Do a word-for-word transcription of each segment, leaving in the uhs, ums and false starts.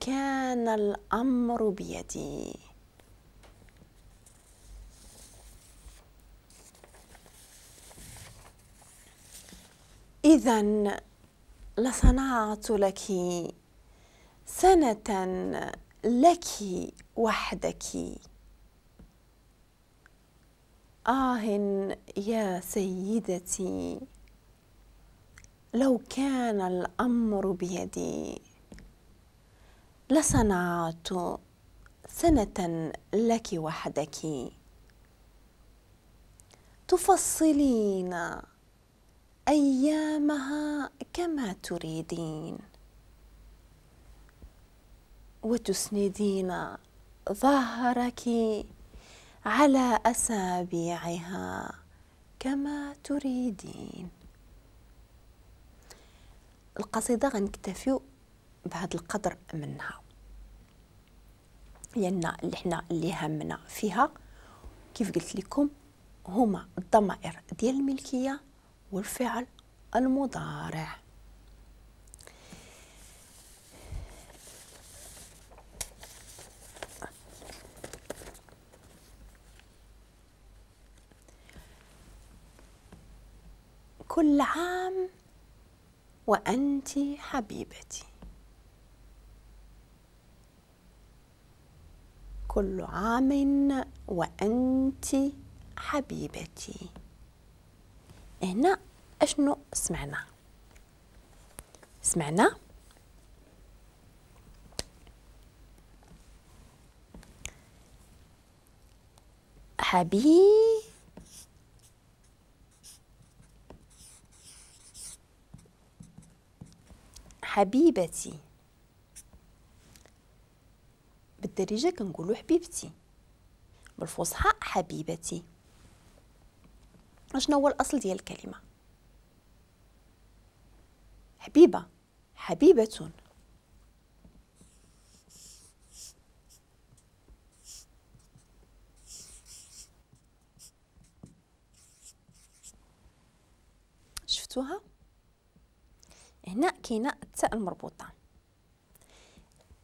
كان الأمر بيدي. إذن لصنعت لك سنة لك وحدك. آه يا سيدتي، لو كان الأمر بيدي لصنعت سنة لك وحدك. تفصلين أيامها كما تريدين، وتسندين ظهرك على أسابيعها كما تريدين. القصيدة غنكتفيو بهذا القدر منها، لأن اللي حنا اللي همنا فيها كيف قلت لكم هما الضمائر ديال الملكية والفعل المضارع. كل عام وأنت حبيبتي، كل عام وأنت حبيبتي. هنا أشنو سمعنا؟ سمعنا حبيبتي حبيبتي. بالدارجة كنقولوا حبيبتي، بالفصحى حبيبتي. اشنو هو الأصل ديال الكلمة؟ حبيبة، حبيبة. شفتوها؟ هنا كاينه التاء المربوطه.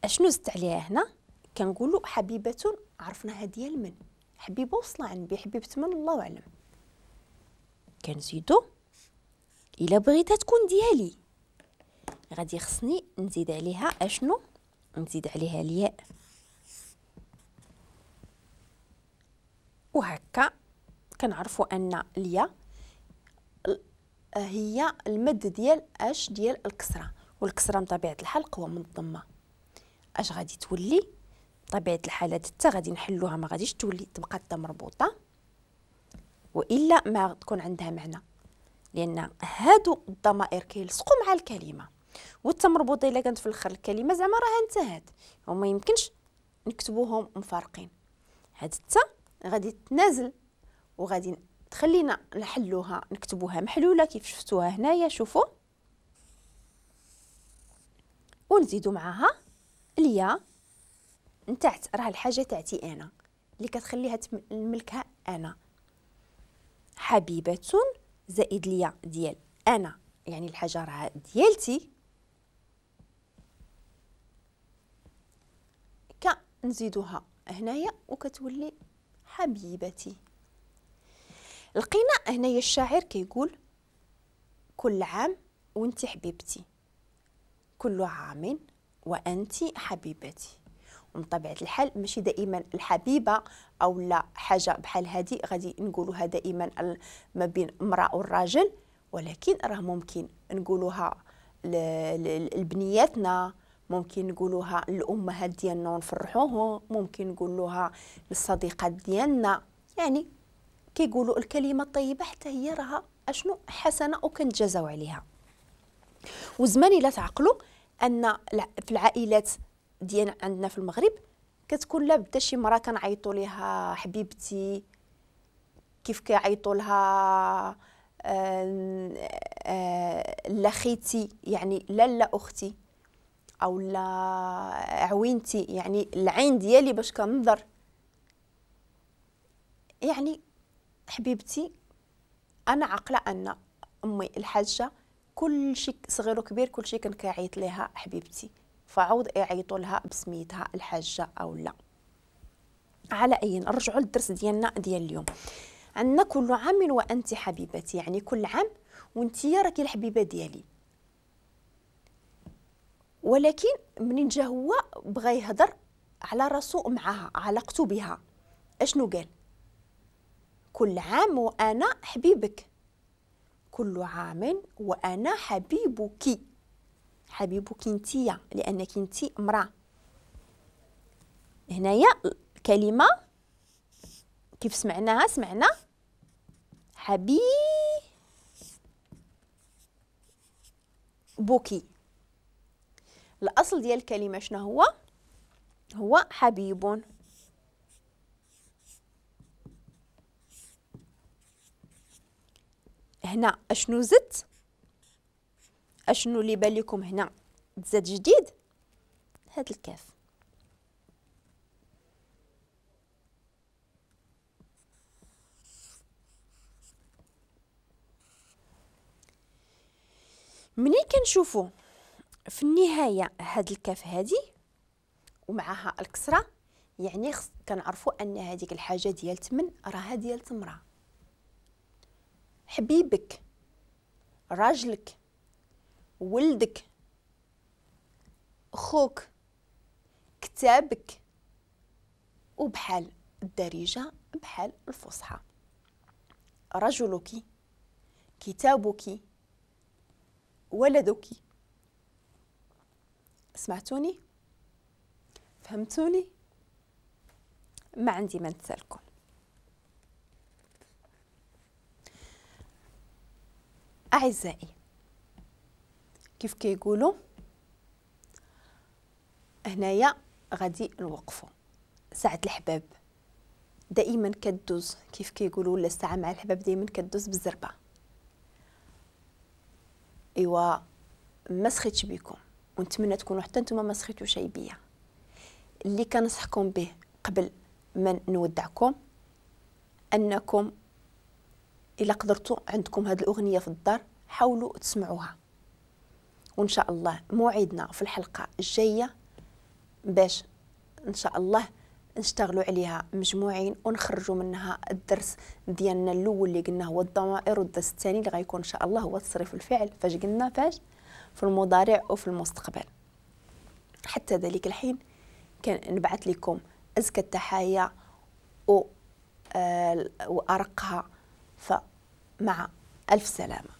اشنو زدت عليها هنا؟ كنقولوا حبيبه، عرفناها ديال من؟ حبيبه وصل عندي، حبيبه من الله اعلم. كنزيدو الا بغيتها تكون ديالي غادي خصني نزيد عليها اشنو؟ نزيد عليها الياء. وهكا كنعرفوا ان الياء هي المد ديال اش؟ ديال الكسرة، والكسرة بطبيعة الحال قوة من الضمة. اش غادي تولي؟ بطبيعة الحال هاد التا غادي نحلوها، ما غاديش تولي تبقى التا مربوطة، والا ما تكون عندها معنى، لان هادو الضمائر كيلصقوا مع الكلمة، والتا مربوطة الا كانت في الاخر الكلمة زعما راها انتهت، وما يمكنش نكتبوهم مفارقين. هاد التا غادي تنازل وغادي تخلينا نحلوها، نكتبوها محلولة كيف شفتوها هنايا، شوفوا، ونزيدو معاها الياء نتاعت، راه الحاجة تاعتي انا اللي كتخليها نملكها انا. حبيبه زائد الياء ديال انا، يعني الحاجة راه ديالتي، كنزيدوها هنايا وكتولي حبيبتي. لقينا هنايا الشاعر كيقول كل عام وانت حبيبتي، كل عام وانت حبيبتي. ومن طبيعة الحال ماشي دائما الحبيبة او لا حاجة بحال هذه غادي نقولوها دائما ما بين امراة والراجل، ولكن راه ممكن نقولوها لبنياتنا، ممكن نقولوها للامهات ديالنا ونفرحوهم، ممكن نقولوها للصديقات ديالنا. يعني كيقولوا الكلمة الطيبة حتى هي راها اشنو؟ حسنه وكنتجازاو عليها. وزمان الا تعقلوا ان في العائلات ديالنا عندنا في المغرب كتكون لابد شي مرا كنعيطوا ليها حبيبتي، كيف كيعيطوا لها لا خيتي، يعني لالا اختي، او لا عوينتي، يعني العين ديالي باش كنظر، يعني حبيبتي. انا عاقلة ان امي الحاجة كل شيء صغير وكبير كل شيء كان كيعيط ليها حبيبتي، فعوض يعيطوا لها بسميتها الحاجة او لا. على اي نرجعوا للدرس ديالنا ديال اليوم. عندنا كل عام وانت حبيبتي، يعني كل عام وانت راكي الحبيبة ديالي. ولكن منين جا هو بغى يهضر على راسو معاها، علاقته بها، اشنو قال؟ كل عام وانا حبيبك، كل عام وانا حبيبك، حبيبك انتيا لانك انتي امراة. هنايا كلمة كيف سمعناها؟ سمعنا حبيبك. الاصل ديال الكلمة شنو هو؟ هو حبيب. هنا اشنو زدت؟ اشنو اللي بان لكم هنا تزاد جديد؟ هاد الكاف. منين كنشوفو في النهاية هاد الكاف هادي ومعها الكسرة، يعني كنعرفوا ان هذيك الحاجة ديال تمن راها ديال تمره. حبيبك، راجلك، ولدك، خوك، كتابك، وبحال الدارجة بحال الفصحى، رجلك، كتابك، ولدك. سمعتوني؟ فهمتوني؟ ما عندي ما نتسالكم. أعزائي، كيف كيقولوا هنايا غادي نوقفوا. ساعة الحباب دائما كدوز، كيف كيقولوا، ولا الساعة مع الحباب دائما كدوز بالزربة. ايوا ما سخيتش بكم، ونتمنى تكونوا حتى نتوما ما سخيتوش بيا. اللي كنصحكم به قبل ما نودعكم، انكم الا قدرتوا عندكم هذه الاغنية في الدار حاولوا تسمعوها، وان شاء الله موعدنا في الحلقة الجاية باش ان شاء الله نشتغلوا عليها مجموعين ونخرجوا منها الدرس ديالنا الاول اللي قلنا هو الضمائر، والدرس الثاني اللي غيكون ان شاء الله هو تصريف الفعل، فاش قلنا فاش في المضارع وفي المستقبل. حتى ذلك الحين كنبعث لكم ازكى التحايا و وارقها، فمع الف سلامه.